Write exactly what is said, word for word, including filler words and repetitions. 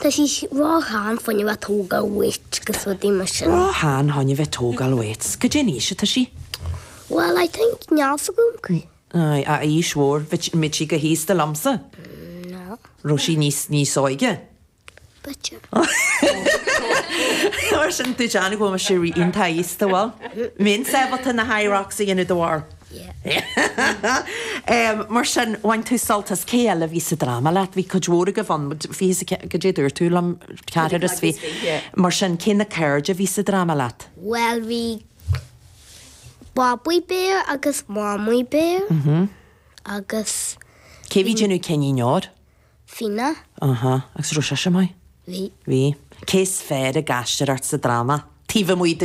Tá sí ró-shean fá choinne bheith tógáil weight agus rudaí mar sin. Ró-shean fá choinne bheith tógáil weights. Goidé an aois atá sí? Well, I think níl a fhios agam. Ai, a aois mhór, bhí sí chomh haosta liomsa? No. Raibh sí níos níos óige? B'fhéidir. Mar sin tú déanamh go bhfuil mise iontach aosta bhfuil? Mbeinn ábalta na Hyrox a dhéanamh de bharr. Um, mar sin bhain tú sult as cé eile bhí sa dráma leat, bhí cuid mhór agaibh ann fiche goidé dúirt tú liom ceathrar is fiche. Mar sin cé na cairde bhí sa dráma leat? Well, bhí Babaí Béar agus Mamaí Béar agus Cé bhí déanamh Cinnín Óir? Fina. Aha, agus raibh sé maith? Bhí. Bhí. Cé is fearr ag aisteoireacht sa dráma? Taobh amuigh